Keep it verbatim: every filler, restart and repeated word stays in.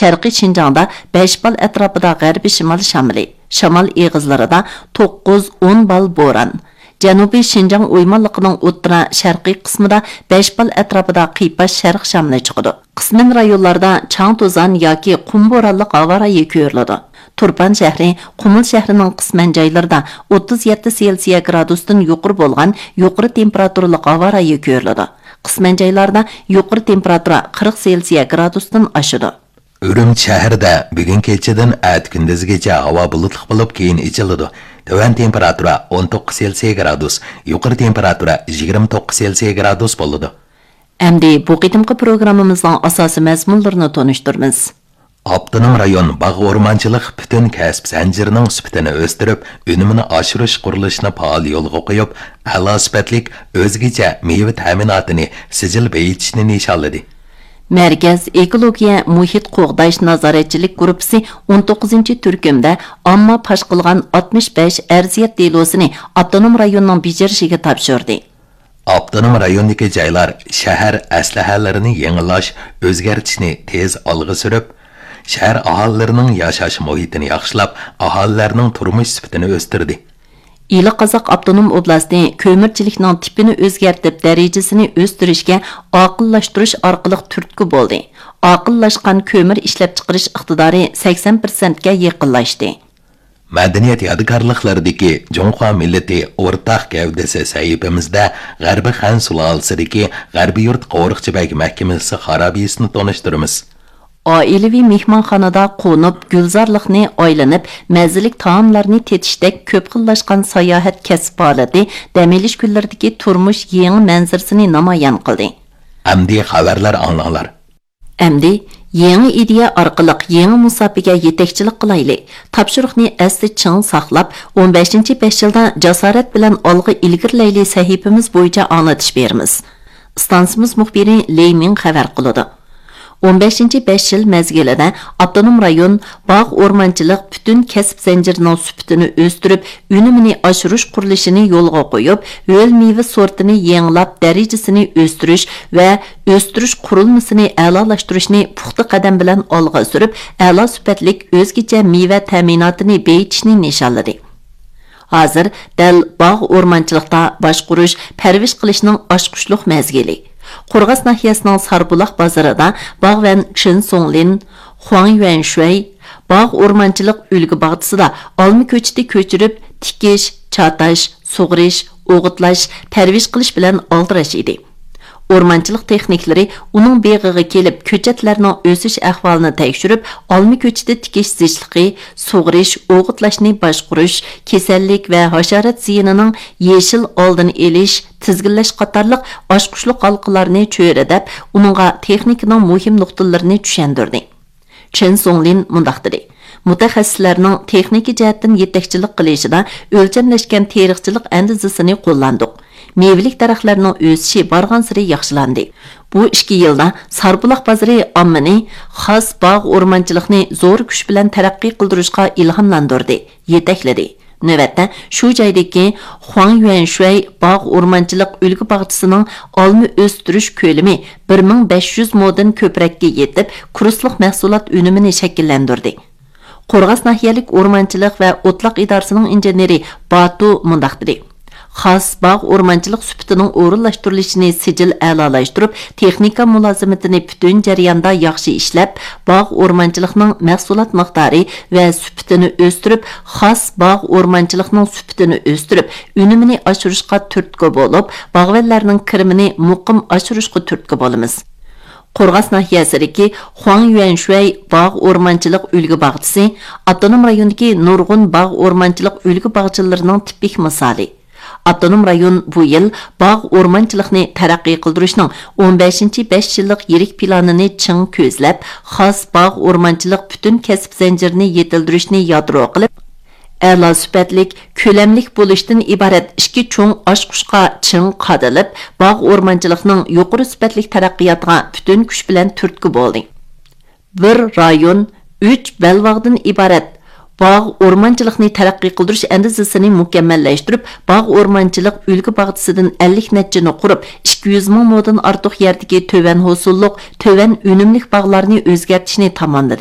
شەرقىي شىنجاڭدا بەش بال ئەتراپىدا غەربىي شىمال شامىلى، شامال ئېغىزلىرىدا توققۇز، ئون بال بوران، جەنۇبىي شىنجاڭ ئويمانلىقىنىڭ ئوتتۇرا شەرقىي قىسمىدا بەش بال ئەتراپىدا قىيپاش شەرق شامىلى چىقىدۇ. قىسمەن رايونلاردا چاڭ توزان ياكى قۇم بورانلىق ھاۋا رايى كۆرۈلىدۇ. تۇرپان شەھىرى، قۇمۇل شەھىرىنىڭ قىسمەن جايلىرىدا ئوتتۇز يەتتە سېلسىيە گرادۇستىن يۇقىرى بولغان يۇقىرى تېمپېراتۇرىلىق ھاۋا رايى كۆرۈلىدۇ. قىسمەن جايلاردا يۇقىرى تېمپېراتۇرا قىرىق سېلسىيە گرادۇستىن ئاشىدۇ. ئۈرۈمچى شەھىرىدە بۈگۈن كېچىدىن ئەتە كۈندۈزگىچە ھاۋا بۇلۇتلۇق بولۇپ، كېيىن ئېچىلىدۇ. تۆۋەن تېمپېراتۇرا ئون توققۇز سېلسىيە گرادۇس، يۇقىرى تېمپېراتۇرا يىگىرمە توققۇز سېلسىيە گرادۇس بولىدۇ. ئەمدى بۇ قېتىمقى پروگراممىمىزنىڭ ئاساسىي مەزمۇنلىرىنى تونۇشتۇرىمىز. ئاپتونوم رايون باغ ئورمانچىلىق پۈتۈن كەسىپ زەنجىرىنىڭ سۈپىتىنى ئۆستۈرۈپ، ئۈنۈمىنى ئاشۇرۇش قۇرۇلۇشىنى پائال يولغا قويۇپ، ئەلا سۈپەتلىك ئۆزگىچە مېۋە تەمىناتىنى سىجىل بېيىتىشنى نىشانلىدى. مەركەز ئېكولوگىيە مۇھىت قوغداش نازارەتچىلىك گۇرۇپپىسى ئون توققۇزىنچى تۈركۈمدە ئامما پاش قىلغان ئاتمىش بەش ئەرزىيەت دېلوسىنى ئاپتونوم رايوننىڭ بېجىرىشىگە تاپشۇردى. ئاپتونوم رايوندىكى جايلار شەھەر ئەسلىھەلىرىنى يېڭىلاش، ئۆزگەرتىشنى تېز ئالغا سۈرۈپ، شەھەر ئاھالىلىرىنىڭ ياشاش مۇھىتىنى ياخشىلاپ، ئاھالىلەرنىڭ تۇرمۇش سۈپىتىنى ئۆستۈردى. ئىلى قازاق ئاپتونوم ئوبلاستى كۆمۈرچىلىكنىڭ تىپىنى ئۆزگەرتىپ، دەرىجىسىنى ئۆستۈرۈشكە ئاقىللاشتۇرۇش ئارقىلىق تۈرتكە بولدى. ئاقىللاشقان كۆمۈر ئىشلەپچىقىرىش ئىقتىدارى سەكسەن پىرسەنتكە يېقىنلاشتى. مەدەنىيەت يادىكارلىقلىرىدىكى جۇڭخۇا مىللىتى ئورتاق گەۋدىسى سەھىپىمىزدە غەربىي خەن سۇلالىسىدىكى غەربىي يۇرت قورۇقچى بەگ مەھكىمىسى خارابىسىنى تونۇشتۇرىمىز. ئائىلىۋى مېھمانخانىدا قونۇپ، گۈلزارلىقنى ئايلىنىپ، مەززىلىك تائاملارنى تېتىشتەك كۆپ خىللاشقان ساياھەت كەسىپ ھالىتى دەم ئېلىش كۈنلىرىدىكى تۇرمۇش يېڭى مەنزىرىسىنى نامايان قىلدى. ئەمدى خەۋەرلەر ئاڭلاڭلار. ئەمدى يېڭى ئىدىيە ئارقىلىق يېڭى مۇساپىگە يېتەكچىلىك قىلايلى. تاپشۇرۇقنى ئەستە چىڭ ساقلاپ، ئون بەشىنچى بەش يىلدا جاسارەت بىلەن ئالغا ئىلگىرىلەيلى سەھىپىمىز بويىچە ئاڭلىتىش بېرىمىز. ئىستانسىمىز مۇخبىرى لېي مىڭ خەۋەر قىلىدۇ. ئون بەشىنچى بەش يىل مەزگىلىدە ئاپتونوم رايون باغ ئورمانچىلىق پۈتۈن كەسىپ زەنجىرىنىڭ سۈپىتىنى ئۆستۈرۈپ، ئۈنۈمىنى ئاشۇرۇش قۇرۇلۇشىنى يولغا قويۇپ، ھۆل مېۋە سورتىنى يېڭىلاپ، دەرىجىسىنى ئۆستۈرۈش ۋە ئۆستۈرۈش قۇرۇلمىسىنى ئەلالاشتۇرۇشنى پۇختا قەدەم بىلەن ئالغا سۈرۈپ، ئەلا سۈپەتلىك ئۆزگىچە مېۋە تەمىناتىنى بېيىتىشنى نىشانلىدى. ھازىر دەل باغ ئورمانچىلىقتا باشقۇرۇش، پەرۋىش قىلىشنىڭ ئاچقۇچلۇق مەزگىلى. قورغاس ناھىيەسىنىڭ ساربۇلاق بازىرىدا باغۋەن چېن سۇڭلىن، خۇاڭ يۈەنشۈەي باغ ئورمانچىلىق ئۈلگە باغچىسىدا ئالما كۆچىتى كۆچۈرۈپ، تىكىش، چاتاش، سۇغىرىش، ئوغۇتلاش، پەرۋىش قىلىش بىلەن ئالدىراش ئىدى. ئورمانچىلىق تېخنىكلىرى ئۇنىڭ بېغىغا كېلىپ، كۆچەتلەرنىڭ ئۆسۈش ئەھۋالىنى تەكشۈرۈپ، ئالما كۆچىتى تىكىش زىچلىقى، سۇغىرىش، ئوغۇتلاشنى باشقۇرۇش، كېسەللىك ۋە ھاشارات زىيىنىنىڭ يېشىل ئالدىنى ئېلىش، تىزگىنلەش قاتارلىق ئاچقۇچلۇق ھالقىلارنى چۆرىدەپ، ئۇنىڭغا تېخنىكىنىڭ مۇھىم نۇقتىلىرىنى چۈشەندۈردى. چېن سۇڭلىن مۇنداق دېدى: مۇتەخەسسىسلەرنىڭ تېخنىكا جەھەتتىن يېتەكچىلىك قىلىشىدا ئۆلچەملەشكەن تېرىقچىلىق ئەندىزىسىنى قوللاندۇق. مېۋىلىك دەرەخلەرنىڭ ئۆسۈشى بارغانسېرى ياخشىلاندى. بۇ ئىككى يىلدا ساربۇلاق بازىرى ئاممىنى خاس باغ ئورمانچىلىقنى زور كۈچ بىلەن تەرەققىي قىلدۇرۇشقا ئىلھاملاندۇردى، يېتەكلىدى. نۆۋەتتە، شۇ جايدىكى خۇاڭ يۈەنشۈەي باغ ئورمانچىلىق ئۈلگە باغچىسىنىڭ ئالما ئۆستۈرۈش كۆلىمى بىر مىڭ بەش يۈز مودىن كۆپرەككە يېتىپ، كۇرسلۇق مەھسۇلات ئۈنۈمىنى شەكىللەندۈردى. قورغاس ناھىيەلىك ئورمانچىلىق ۋە ئوتلاق ئىدارىسىنىڭ ئىنژېنېرى باتۇ مۇنداق دېدى: خاس باغ ئورمانچىلىق سۈپىتىنىڭ ئورۇنلاشتۇرۇلۇشىنى سىجىل ئەلالاشتۇرۇپ، تېخنىكا مۇلازىمىتىنى پۈتۈن جەرياندا ياخشى ئىشلەپ، باغ ئورمانچىلىقنىڭ مەھسۇلات مىقدارى ۋە سۈپىتىنى ئۆستۈرۈپ، خاس باغ ئورمانچىلىقنىڭ سۈپىتىنى ئۆستۈرۈپ، ئۈنۈمىنى ئاشۇرۇشقا تۈرتكە بولۇپ، باغۋەنلەرنىڭ كىرىمىنى مۇقىم ئاشۇرۇشقا تۈرتكە بولىمىز. قورغاس ناھىيەسىدىكى خۇاڭ يۈەنشۈەي باغ ئورمانچىلىق ئۈلگە باغچىسى ئاپتونوم رايوندىكى نۇرغۇن باغ ئورمانچىلىق ئۈلگە باغچىلىرىنىڭ تىپىك مىسالى. ئاپتونوم رايون بۇ يىل باغ ئورمانچىلىقنى تەرەققىي قىلدۇرۇشنىڭ ئون بەشىنچى بەش يىللىق يىرىك پىلانىنى چىڭ كۆزلەپ، خاس باغ ئورمانچىلىق پۈتۈن كەسىپ زەنجىرىنى يېتىلدۈرۈشنى يادرو قىلىپ، ئەلا سۈپەتلىك، كۆلەملىك بولۇشتىن ئىبارەت ئىككى چوڭ ئاچقۇچقا چىڭ قادىلىپ، باغ ئورمانچىلىقنىڭ يۇقىرى سۈپەتلىك تەرەققىياتىغا پۈتۈن كۈچ بىلەن تۈرتكە بولدى. بىر رايون، ئۈچ بەلباغدىن ئىبارەت باغ ئورمانچىلىقنى تەرەققىي قىلدۇرۇش ئەندىزىسىنى مۇكەممەللەشتۈرۈپ، باغ ئورمانچىلىق ئۈلگە باغچىسىدىن ئەللىك نەچچىنى قۇرۇپ، ئىككى يۈز مىڭ مودىن ئارتۇق يەردىكى تۆۋەن ھوسۇللۇق، تۆۋەن ئۈنۈملۈك باغلارنى ئۆزگەرتىشنى تاماملىدى.